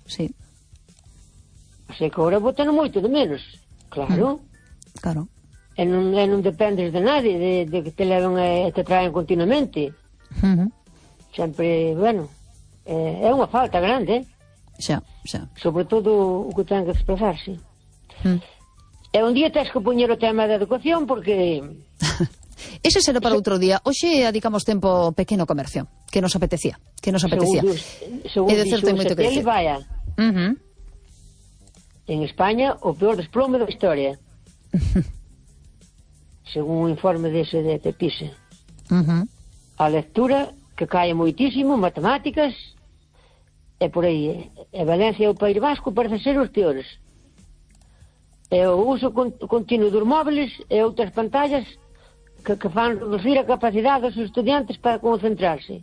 sí. Así que agora botan moito de menos. Claro. Claro. E non dependes de nadie, de que te leven e te traen continuamente. Sempre, bueno, é unha falta grande, Xa. sobre todo o que ten que expresarse. E un día tens que poñer o tema da educación, porque... Ese será para outro día. Hoxe dedicamos tempo ao pequeno comercio, que nos apetecía. Según dixo o Seteli, vaya, en España o peor desplome da historia. Según o informe dese de PISA. A lectura, que cae moitísimo, matemáticas, e por aí. E Valencia e o País Vasco parece ser os peores. E o uso continuo dos móviles e outras pantallas que fan reducir a capacidade dos estudiantes para concentrarse.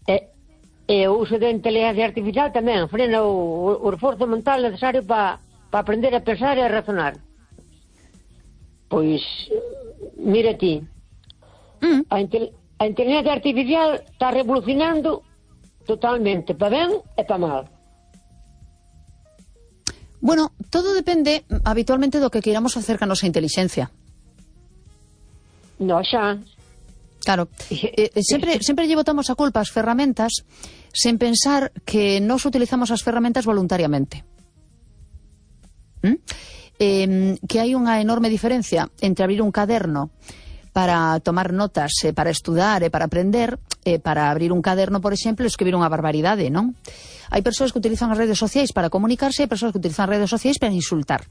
E o uso da inteligencia artificial tamén frena o esforzo mental necesario para aprender a pensar e a razonar. Pois, mira ti, a inteligencia artificial está revolucionando totalmente, para ben e para mal. Bueno, todo depende habitualmente do que queiramos facer ca nosa intelixencia. No, xa. Claro, sempre lle botamos a culpa ás ferramentas sen pensar que nós utilizamos as ferramentas voluntariamente. Que hai unha enorme diferencia entre abrir un caderno para tomar notas, para estudar e para aprender, para abrir un caderno, por exemplo, e escribir unha barbaridade, non? Hai persoas que utilizan as redes sociais para comunicarse e hai persoas que utilizan as redes sociais para insultar.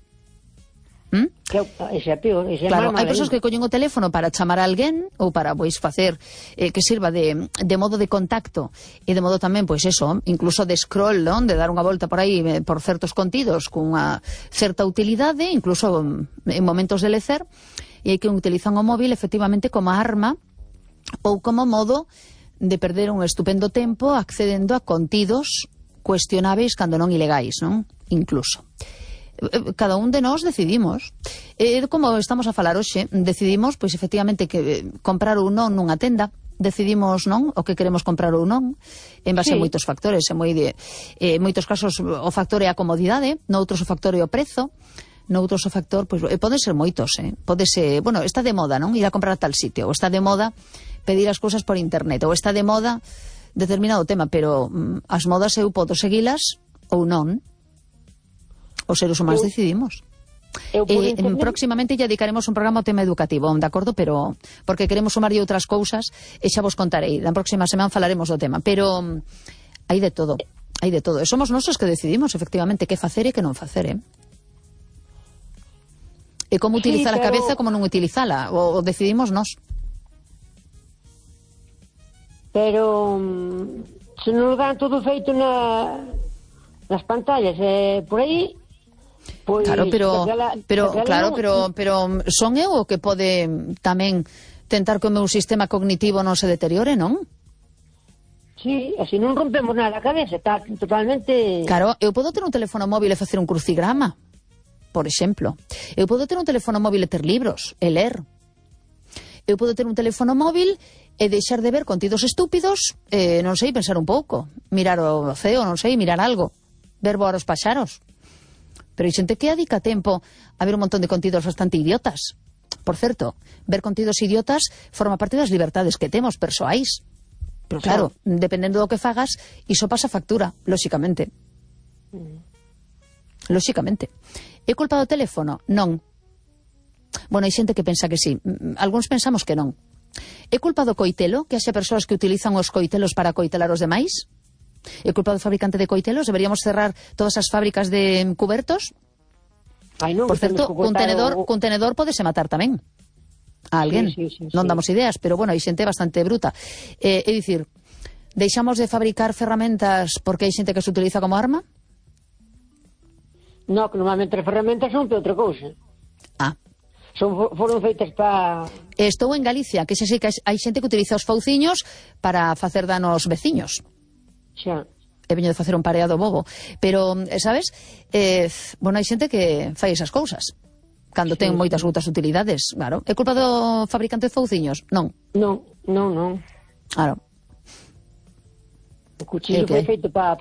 Ese é peor, ese é claro, mal. Hai persoas que collen o teléfono para chamar a alguén ou para, pois, facer que sirva de modo de contacto e de modo tamén, pois eso, incluso de scroll, non? De dar unha volta por aí por certos contidos cunha certa utilidade, incluso en momentos de lecer, e hai que utilizan o móvil efectivamente como arma ou como modo de perder un estupendo tempo accedendo a contidos cuestionáveis cando non ilegais, non? Incluso. Cada un de nós decidimos. Como estamos a falar hoxe, decidimos, pois, efectivamente, que comprar ou non nunha tenda. Decidimos, non, o que queremos comprar ou non, en base a moitos factores. En moitos casos o factor é a comodidade, noutros o factor é o prezo, noutros o factor, pois, poden ser moitos, pode ser, bueno, está de moda, non, ir a comprar a tal sitio, ou está de moda pedir as cousas por internet, ou está de moda determinado tema, pero as modas eu podo seguilas ou non. Os seres humanos decidimos. Próximamente ya dedicaremos un programa ao tema educativo, de acordo? Pero porque queremos sumarlle outras cousas e xa vos contarei. Na próxima semana falaremos do tema, pero hai de todo. E somos nós os que decidimos efectivamente que facer e que non facer, E como utilizar a cabeza, como non utilizala, o decidimos nós. Pero se non dan todo feito nas pantallas, por aí. Pois, claro, pero son eu o que pode tamén tentar que o meu sistema cognitivo non se deteriore, non? Sí, así non rompemos nada a cabeza, está totalmente... Claro, eu podo ter un teléfono móvil e facer un crucigrama, por exemplo. Eu podo ter un teléfono móvil e ter libros, e ler. Eu podo ter un teléfono móvil e deixar de ver contidos estúpidos, non sei, pensar un pouco, mirar o ceo, non sei, mirar algo, ver voar os paxaros. Pero hai xente que dedica tempo a ver un montón de contidos bastante idiotas. Por certo, ver contidos idiotas forma parte das libertades que temos persoais. Pero claro, dependendo do que fagas, iso pasa factura, lóxicamente. Lóxicamente. É culpa do teléfono? Non. Bueno, hai xente que pensa que sí. Algúns pensamos que non. É culpa do coitelo? Que haxe persoas que utilizan os coitelos para coitelar os demais? É culpa do fabricante de coitelos? Deberíamos cerrar todas as fábricas de cubertos? Por certo, cun tenedor podese matar tamén a alguén. Non damos ideas, pero bueno, hai xente bastante bruta. É dicir, deixamos de fabricar ferramentas porque hai xente que se utiliza como arma? No, que normalmente as ferramentas son para outra cousa. Foron feitas para... Estou en Galicia, que sei que hai xente que utiliza os fauciños para facer dano aos veciños. Xa. He veño de facer un pareado bobo. Pero, sabes, bueno, hai xente que fai esas cousas cando ten moitas outras utilidades, claro. É culpa do fabricante de fauciños? Non. Non. Claro. O cuchillo foi feito para